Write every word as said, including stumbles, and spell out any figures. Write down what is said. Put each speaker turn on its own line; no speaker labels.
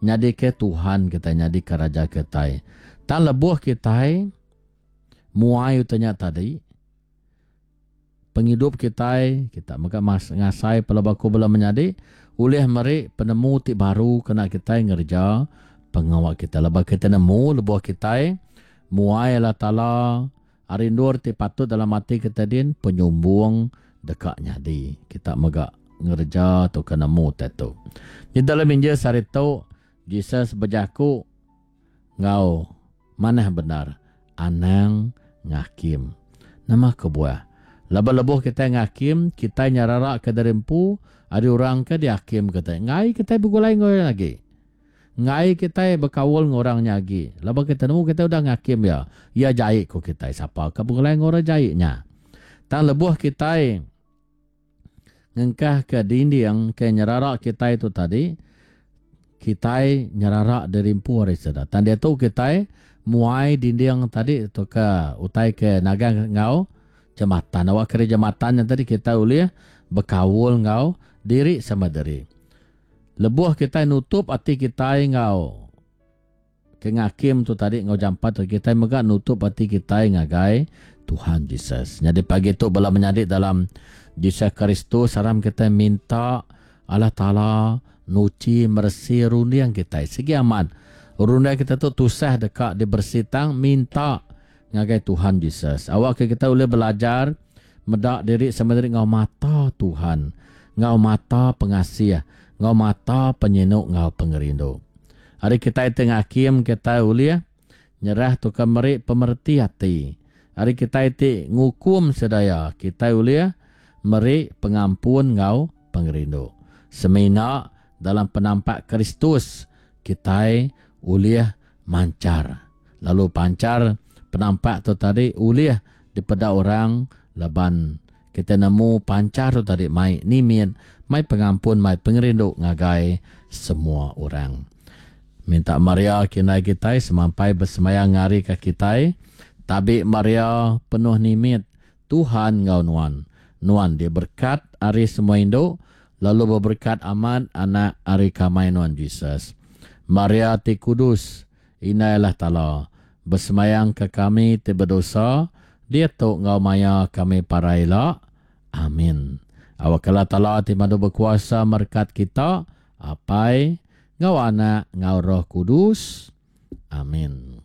Nyadi ke Tuhan kita, nyadi ke Raja kita. Tang lebuh kita muai utanya tadi, penghidup kita, kita mega mas ngasai pelabaku bela menyadi, ulih meri penemu ti baru kena kita ngerja pengawa kita. Lebuh kita nemu, lebuh kita muai Allah Taala ari endur ti patut dalam ati kita din, penyumbung deka nyadi. Kita mega ngerja tu ke nemu tetu. Di dalam Injil sehari tu, Jesus berjaku ngau manah benar, anang ngakim. Nama kebuah? Lebuh lebuh kita ngakim, kita nyarara ke dari empu, ada orang ke dihakim kita. Ngai kita begulai ngau lagi. Ngai kita berkaul dengan orang lagi. Lebuh kita nemu kita udah ngakim ya. Ya jahit ko kita. Siapa ke begulai dengan orang jahitnya? Tang lebuh kita ngengkah ke dinding ke nyerara kita itu tadi, kita nyerara dari empu hari sedar. Tang dia tu kita muai dinding tadi tu ke utai ke nagang ngau jematan. Awak kira jematan yang tadi kita boleh berkaul ngau diri sama diri. Lebuh kita nutup hati kita ngau ke ngakim tu tadi ngau jampat tu, kita mega nutup hati kita ngagai Tuhan Jesus. Jadi pagi tu bala menyadi dalam Jesus Kristus, saram kita minta Allah Taala nuci mersi runding kita. Segi amat runding kita tu tusah dekat dibersih, tang minta ngagai Tuhan Jesus. Awak ke kita boleh belajar medak diri sama diri ngau mata Tuhan, ngau mata pengasih, ngau mata penyinuk, ngau pengerindu. Hari kita tengah hakim kita boleh nyerah tu ke meri pemerti hati. Hari kita ti ngukum sedaya kita boleh meri pengampun ngau pengerindu. Semina dalam penampak Kristus kita boleh mancar. Lalu pancar penampak tu tadi ulih daripada orang laban kita nemu pancar tu tadi mai nimin, mai pengampun, mai pengerindu ngagai semua orang. Minta Maria kinai kita semampai bersemayang ngari ke kita. Tabi Maria penuh nimit, Tuhan ngau nuan. Nuan dia berkat ari semua induk, lalu berberkat amat anak ari kamai nuan Jesus. Maria ti kudus, inailah Taala, bersemayang ke kami ti berdosa, dia tu ngau maya kami paraila. Amin. Awak Allah Taala ti madu berkuasa merkat kita, apai, ngau anak, ngau Roh Kudus. Amin.